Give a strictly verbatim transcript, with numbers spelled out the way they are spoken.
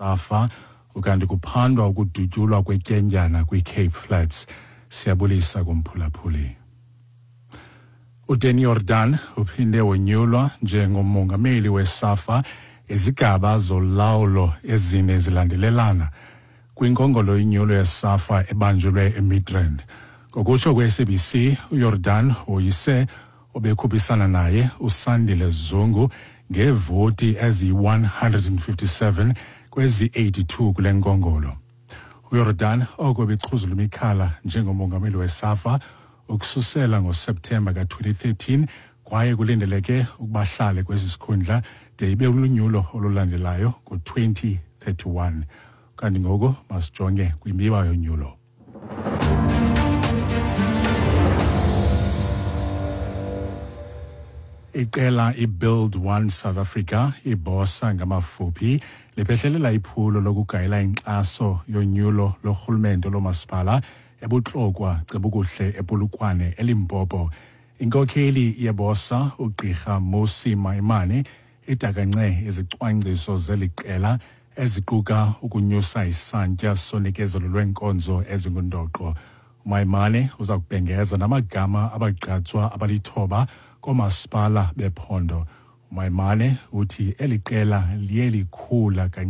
Safa ukanti kuphandwa ukudutyulwa kwetyendyana kwiCape Flats. Siyabulisa kumphulaphuli. uDanny Jordaan uphinde wonyulwa njengomongameli weSAFA izigaba zolawulo ezine zilandelelana kwinkongolo yonyulo yeSAFA ebanjelwe eMidrand. Ngokutsho kwe-S A B C, uJordaan woyise obekhuphisana naye uSandile Zungu ngeevoti eziyi one hundred and fifty-seven kwezi eighty-two kule nkongolo. UJordaan oko bexhuzula imikhala njengomongameli weSAFA ukususela ngoSeptemba ka twenty thirteen, kwaye kulindeleke ukuba ahlale kwesi sikhundla de ibe lunyulo olulandelayo ngo twenty thirty-one. Kanti ngoku masijonge kwimiba yonyulo. Iqela iBuild One South Africa, iBOSA ngamafuphi, liphehlelela iphulo lokugayela inkxaso yonyulo lorhulumente lomasipala eBotlokwa, Cebukuhle, ePolokwane, eLimpopo. Inkokheli yeBOSA uGqirha Mmusi Maimane idakance izicwangciso zeli qela eziquka ukunyusa isantya sonikezelo lweenkonzo ezingundoqo. UMaimane uza kubhengeza namagama abagqatswa abalithoba koomasipala bephondo. UMaimane uthi eli qela liye likhula.